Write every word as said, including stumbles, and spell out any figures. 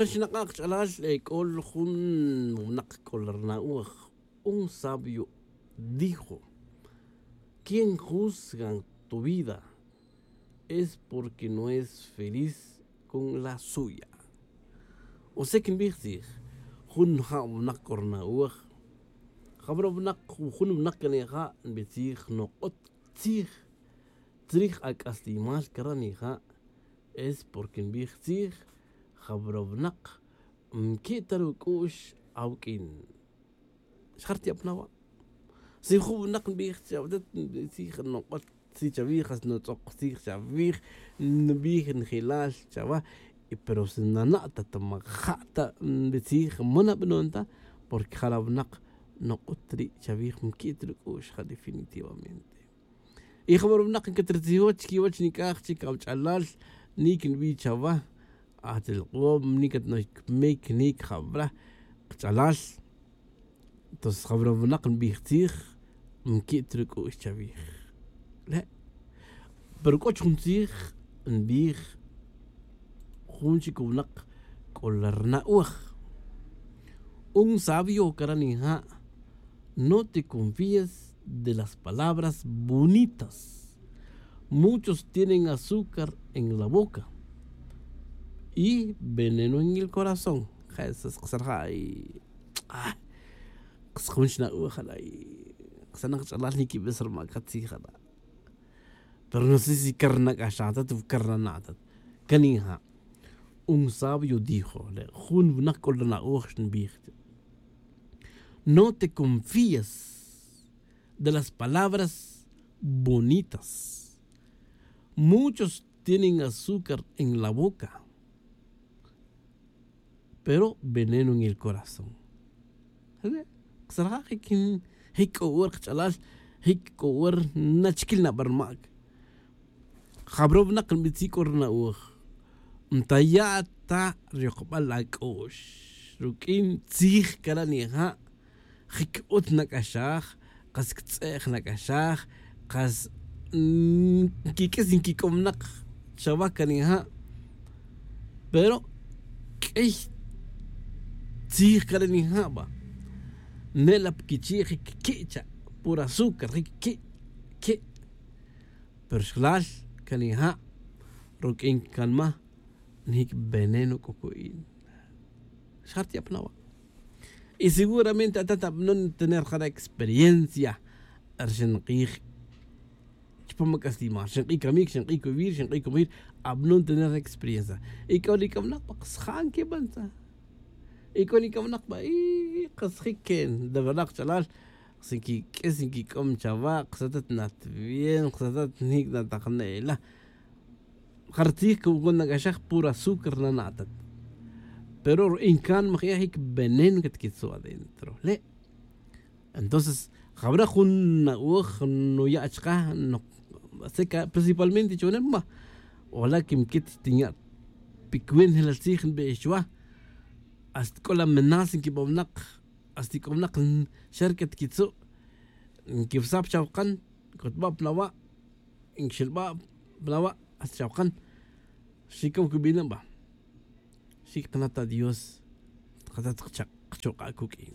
Xnak'a' kach'alal, ec'ol jun winak c'ol ri na'oj. Un sabio dijo: quien juzga tu vida es porque no es feliz con la suya. O sea que nbij tzij, jun ja' winak c'o ri na'oj, jabara' winak, jun winak can ija' nbij tzij nok'ot tzij chrij ac'aslimal cara' nija', es porque nbij tzij, jabara' winak nqui' ta ruc'u'x awuq'uin. Xa jarti'ap na wa'. Si jun winak nbij chawatet, nbij tzij nok'ot tzij chawij, jas nutz'ok tzij chawij, nbij njelal chawa. Y pero si nana' ta ta maja' ta nbij tzij, ma nabanon ta, porque jara' winak nok'ot ri' chawij, nqui' ta ruc'u'x ja definitivamente. Y jabara' winak ncatrtzijo chiquiwech nic'aj chic awach'alal, nic nbij chawa, atilk'om, nic at nocmic, nic jabara' kach'alal. Entonces jabara' winak nbij tzij, nqui' ta ruc'u'x chawij. Le'. Pero c'o chujun tzij nbij jun chic winak c'o la ri na'oj. Un sabio cara' nija': no te confíes de las palabras bonitas. Muchos tienen azúcar en la boca y veneno en el corazón. Jesús, qasarja' y, ah, qas jun xna'oj jala' y qas na kach'alal niquibes ri maca tzij jala'. Pero no sé si car nac'axaj ta, car nana' ta. Can ija'. Un sabio dijo, le' jun winak c'o la na'oj xnbij: no te confíes de las palabras bonitas. Muchos tienen azúcar en la boca, pero veneno en el corazón. Xare', qasarja' jic, jic c'o wer kach'alal, jic c'o wer nachiquil na bar mac. Jabara' winak nbij tzij c'o ri na'oj, ntaya' ta ri yokbal ac'u'x ruq'uin tzij cara' nija', jic utz nac'axaj, kas ctz'e' nac'axaj, kas nquiq'uis nquic'om nak chawa can nija'. Pero q'uiy tzij cara' nija' ba, nela' pa quichi' jic qui' cha' puro azúcar, jic qui', qui'. Pero xlal can nija' ruq'uin can ma, nijic veneno c'o cu'in. Xjarti'ap na wa'. Y seguramente atat abnon tener jara' experiencia, ri xenk'ij chupam ac'aslimal, xenk'ij camic, xenk'ij cubir, xenk'ij cubir, abnon tener experiencia. Y c'o ri c'amnak pa kasjan quibantza. Y c'o ri c'amnak pa y kasjic que de verdad kach'alal, si quiq'uis nquic'om chawa', kasatat nat bien, kasatat nijic natajnela. Jartzij que nac'axaj puro azúcar nana'tat. Pero ri incan majya jic veneno catquitzu' adentro le'. Entonces jabara' jun na'oj nuya' chaka, principalmente chonel ma, ola' que miquit tinya' picuenta jelal tzij nbix chuwa. Hasta c'o la menas nquibawnak, hasta c'o winak xa ri catquitzu', nquivsaj pa chawakan, cotba' pa nawa', nquixelba' pa nawa', hasta chawakan. Xic'o cubina' ba, xic kanata' dios, katat kachuk'a' cuq'uin.